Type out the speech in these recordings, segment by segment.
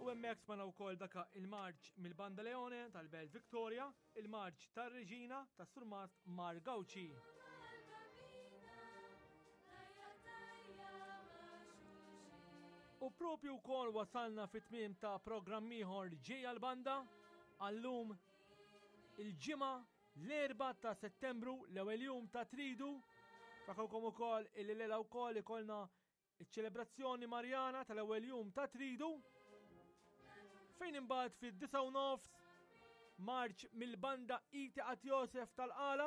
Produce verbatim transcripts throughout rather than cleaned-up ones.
U hemmhekk smajna wkoll daka il-marċ mill-Banda Leone tal-Belt Victoria, il-marċ tar-Reġina tas-Surmast Mar Gauci. U propju wkoll wasalna fit-tmiem ta' programm ieħor ġej għall-banda għallum il-ġimgħa l-erbgħa ta' Settembru, l-ewwel jum ta' Tridu. Fakalkom ukoll illi lejla wkoll ikollna iċ-ċelebrazzjoni Marjana tal-ewwel jum ta' Tridu, fejn imbagħad fid-disgħa u nofs marċ mill-banda Iti At Josef tal-Qala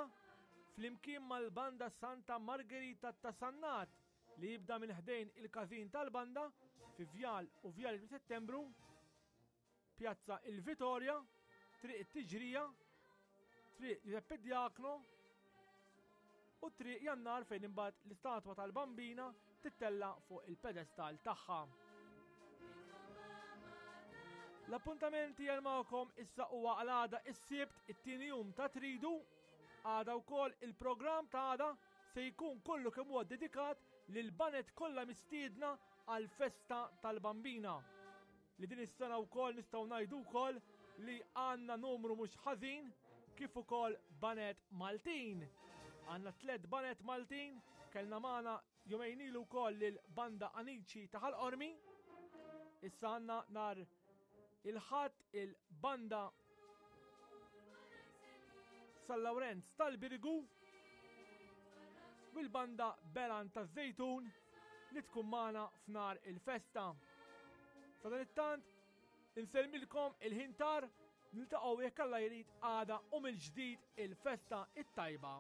flimkien mal-banda Santa Margherita ta' Sannat li jibda minn ħdejn il-każin tal-banda fi Vjal u Vjal Settembru, Pjazza il-Vitorja, Triq it-Tiġrija, Triq Giuseppe Diacno u Triq Jannar, fejn imbagħad l-istatwa tal-Bambina tittella fuq il-pedestal tagħha. L-appuntamenti għal magħkom issa huwa għal għada is-Sibt, it-tieni jum ta' Tridu. Għada wkoll il-programm ta' għada se jkun kollu kemm huwa dedikat lil banet kollha mistiedna għal festa tal-Bambina. Li din is-sena wkoll nistgħu ngħidu wkoll li għandna numru mhux ħażin kif ukoll banet Maltin. Għandna tliet banet Maltin, kellna magħna jumejn ilu wkoll lil banda Anici ta' Ħal Qormi. Issa għandna nar il-Ħadd il-banda San Lawrenz tal-Birgu u l-banda Belan taż-Żejtun li tkun magħna f'nar il-festa. Sadanittant, insellmilkom il-ħin tar, niltaqgħu jekk Alla jrid għada u mill-ġdid il-festa it-tajba.